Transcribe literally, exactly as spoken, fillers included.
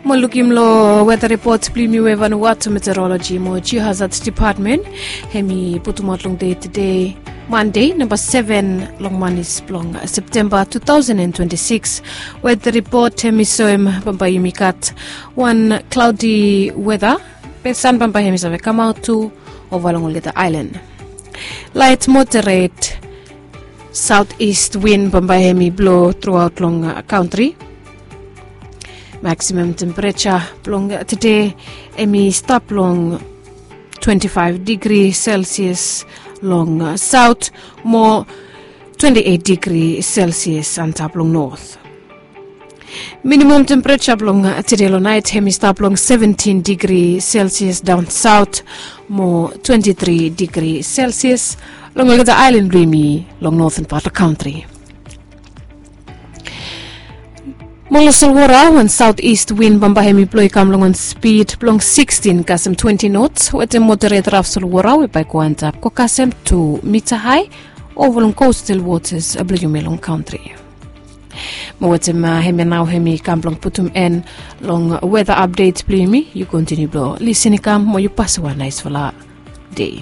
Mo lukim long weta ripot blong yumi we Vanuatu Meteorologi mo Geohazard Department, hem i putumaot long dei tede, Mande, namba seven long manis blong Septemba two thousand and twenty-six. Weta ripot hem i soem bambae yumi gat wan klaodi weta, be san bambae hem i save kamaot tu ova long olgeta aelan. Laet moderet saot ist win bambae hem i blo truaot long kantri. Maksimam tempereja blong tede hem i stap long twenty-five digri Celsius long saot, mo twenty-eight digri Celsius antap long not. Minimam tempereja blong tede long naet hem i stap long seventeen digri Celsius daon saot, mo twenty-three digri Celsius long olgeta aelan blong yumi long noten pat long kantri. Mo long solwara, wan saot ist win bambae hem i blo i kam long wan spid blong sixteen kasem twenty knots, wetem moderet raf solwara we bae i go antap go kasem two mita hae ova long coastal waters blong yumi long kantri. Mo wetem hemia nao hem i kam blong putum en long weta apdet blong yumi. Yu kontiniu blong lisin i kam mo yu pasem wan naesfala dei.